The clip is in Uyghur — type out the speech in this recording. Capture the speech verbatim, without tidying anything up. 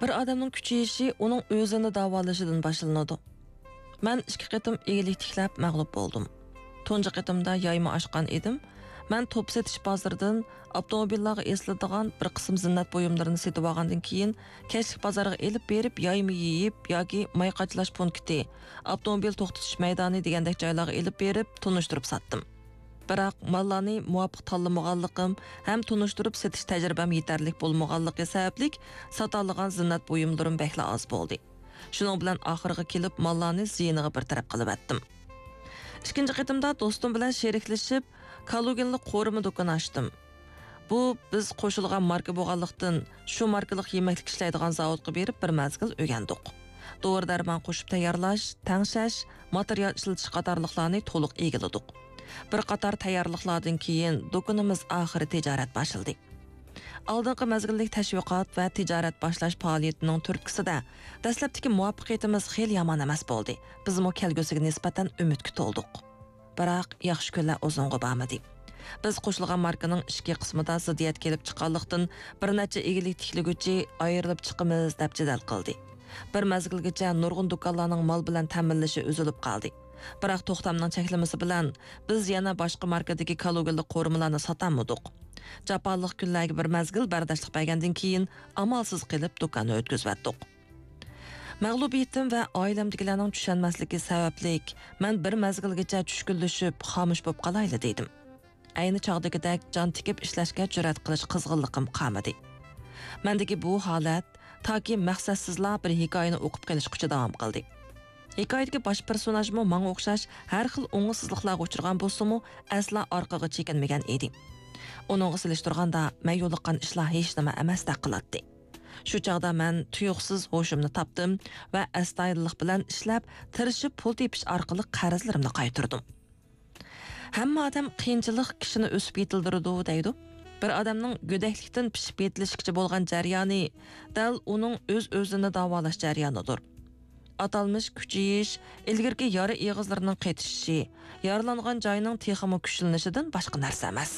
بىر ئادەمنىڭ كۈچىيىشى ئۇنىڭ ئۆزىنى داۋالىشىدىن باشلىنىدۇ. مەن ئىككى قېتىم ئىگىلىك تىكلەپ مەغلۇپ بولدۇم. تۇنجى قېتىمدا يايما ئاچقان ئىدىم. مەن توپ سېتىش بازىرىدىن ئاپتوموبىللارغا ئېسىلىدىغان بىر قىسىم زىننەت بۇيۇملىرىنى سېتىۋالغاندىن كېيىن، كەچلىك بازارغا ئېلىپ بېرىپ يايما يېيىپ ياكى ماي قاچىلاش پونكىتى، ئاپتوموبىل توختىتىش مەيدانى دېگەندەك جايلارغا ئېلىپ بېرىپ تونۇشتۇرۇپ ساتتىم. بىراق ماللارنى مۇۋاپىق تاللىمىغانلىقىم ھەم تونۇشتۇرۇپ سېتىش تەجرىبەم يېتەرلىك بولمىغانلىقى سەۋەبلىك، ساتالىغان زىننەت بۇيۇملىرىم بەكلا ئاز بولدى. شۇنىڭ بىلەن ئاخىرىغا كېلىپ ماللارنى زىيىنىغا بىر تەرەپ قىلىۋەتتىم. ئىككىنچى قېتىمدا دوستۇم بىلەن شېرىكلىشىپ، كالۇگىنلىق قورۇما دۇكىنى ئاچتىم. بۇ بىز قوشۇلغان ماركا بولغانلىقتىن، شۇ ماركىلىق يېمەكلىك ئىشلەيدىغان زاۋۇتقا بېرىپ بىر مەزگىل ئۆگەندۇق. دورا-دەرمان قوشۇپ تەييارلاش، تەڭشەش، ماتېرىيال ئىشلىتىش قاتارلىقلارنى تولۇق ئىگىلىدۇق. بىر قاتار تەييارلىقلاردىن كېيىن دۇكىنىمىز ئاخىرى تىجارەت باشلىدى. ئالدىنقى مەزگىللىك تەشۋىقات ۋە تىجارەت باشلاش پائالىيىتىنىڭ تۈرتكىسىدە، دەسلەپتىكى مۇۋەپپەقىيىتىمىز خېلى يامان ئەمەس بولدى. بىزمۇ كەلگۈسىگە نىسبەتەن ئۈمىدكە تولدۇق. بىراق، ياخشى كۈنلەر ئۇزۇنغا بارمىدى. بىز قوشۇلغان ماركىنىڭ ئىچكى قىسمىدا زىددىيەت كېلىپ چىققانلىقتىن، بىر نەچچە ئىگىلىك تىكلىگۈچى ئايرىلىپ چىقىمىز دەپ جېدەل قىلدى. بىر مەزگىلگىچە نۇرغۇن دۇكانلارنىڭ مال بىلەن تەمىنلىشى ئۈزۈلۈپ قالدى. بىراق توختامنىڭ چەكلىمىسى بىلەن بىز يەنە باشقا ماركىدىكى كالۇگىلىق قورۇمىلارنى ساتالمىدۇق. جاپالىق كۈنلەرگە بىر مەزگىل بەرداشلىق بەرگەندىن كېيىن، ئامالسىز قېلىپ دۇكاننى ئۆتكۈزۈۋەتتۇق. مەغلۇبىيىتىم ۋە ئائىلەمدىكىلەرنىڭ چۈشەنمەسلىكى سەۋەبلىك، مەن بىر مەزگىلگىچە چۈشكۈنلىشىپ، خامۇش بولۇپ قالايلى دېدىم. ئەينى چاغدىكىدەك جان تىكىپ ئىشلەشكە جۈرئەت قىلىش قىزغىنلىقىم قالمىدى. مەندىكى بۇ ھالەت تاكى مەقسەتسىزلا بىر ھېكايىنى ئوقۇپ قېلىشقىچە داۋام قىلدى. ھېكايىدىكى باش پېرسوناژمۇ ماڭا ئوخشاش ھەر خىل ئوڭۇشسىزلىقلارغا ئۇچرىغان بولسىمۇ، ئەسلا ئارقىغا چېكىنمىگەن ئىدى. ئۇنىڭغا سېلىشتۇرغاندا، مەن يولۇققان ئىشلار ھېچنېمە ئەمەستەك قىلاتتى. شۇ چاغدا مەن تۇيۇقسىز ھوشۇمنى تاپتىم ۋە ئەستايىدىللىق بىلەن ئىشلەپ، تىرىشىپ پۇل تېپىش ئارقىلىق قەرزلىرىمنى قايتۇردۇم. ھەممە ئادەم قىيىنچىلىق كىشىنى ئۆسۈپ يېتىلدۈرىدۇ دەيدۇ. بىر ئادەمنىڭ گۆدەكلىكتىن پىشىپ يېتىلىشكىچە بولغان جەريانى دەل ئۇنىڭ ئۆز-ئۆزىنى داۋالاش جەريانىدۇر. ئاتالمىش كۈچىيىش ئىلگىرىكى يارا ئېغىزلىرىنىڭ قېتىشىشى، يارىلانغان جاينىڭ تېخىمۇ كۈچلىنىشىدىن باشقا نەرسە ئەمەس.